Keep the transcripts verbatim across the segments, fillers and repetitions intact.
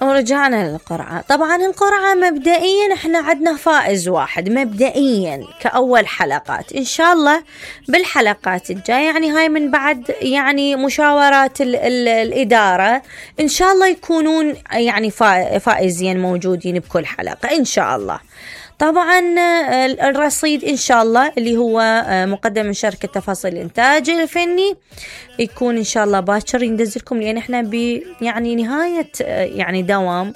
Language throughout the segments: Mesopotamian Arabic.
ورجعنا للقرعة. طبعا القرعة مبدئيا احنا عندنا فائز واحد مبدئيا كأول حلقات، ان شاء الله بالحلقات الجاية يعني هاي من بعد يعني مشاورات ال ال الإدارة ان شاء الله يكونون يعني فائزين موجودين بكل حلقة ان شاء الله. طبعا الرصيد إن شاء الله اللي هو مقدم من شركة تفاصيل الإنتاج الفني يكون إن شاء الله باكر يندزلكم، لأن إحنا ب يعني نهاية يعني دوام،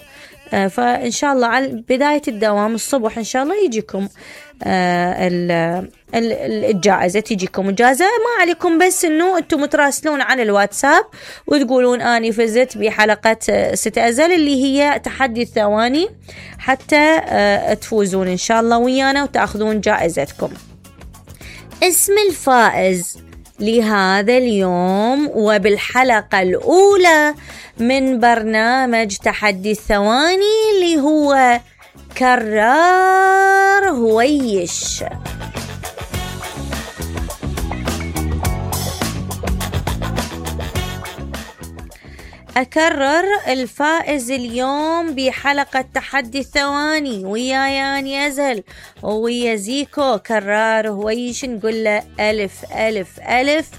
فإن شاء الله على بداية الدوام الصبح إن شاء الله يجيكم الجائزة، تجيكم الجائزة. ما عليكم بس إنه أنتم متراسلون على الواتساب وتقولون أني فزت بحلقة ست أزل اللي هي تحدي الثواني، حتى تفوزون إن شاء الله ويانا وتأخذون جائزتكم. اسم الفائز لهذا اليوم وبالحلقة الأولى من برنامج تحدي الثواني اللي هو كرار هويش. أكرر الفائز اليوم بحلقة تحدي الثواني ويا ياني أزهل ويا زيكو كرار هويش، نقول له ألف ألف ألف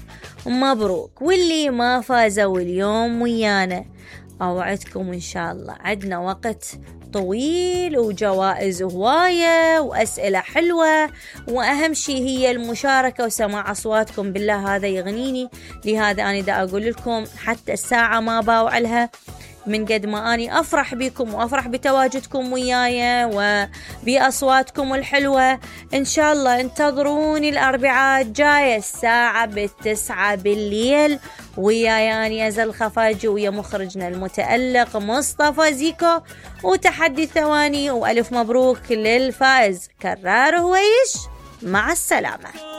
مبروك. واللي ما فازوا اليوم ويانا أوعدكم إن شاء الله عدنا وقت طويل وجوائز هواية وأسئلة حلوة، وأهم شيء هي المشاركة وسماع أصواتكم. بالله هذا يغنيني، لهذا أنا دا أقول لكم حتى الساعة ما باوع لها من قد ما أني أفرح بكم وأفرح بتواجدكم وياي وبأصواتكم الحلوة. إن شاء الله انتظروني الأربعاء الجاية الساعة بالتسعة بالليل ويا ياني أزل الخفاجي ويا مخرجنا المتألق مصطفى زيكو وتحدي ثواني. وألف مبروك للفائز كرار هويش، مع السلامة.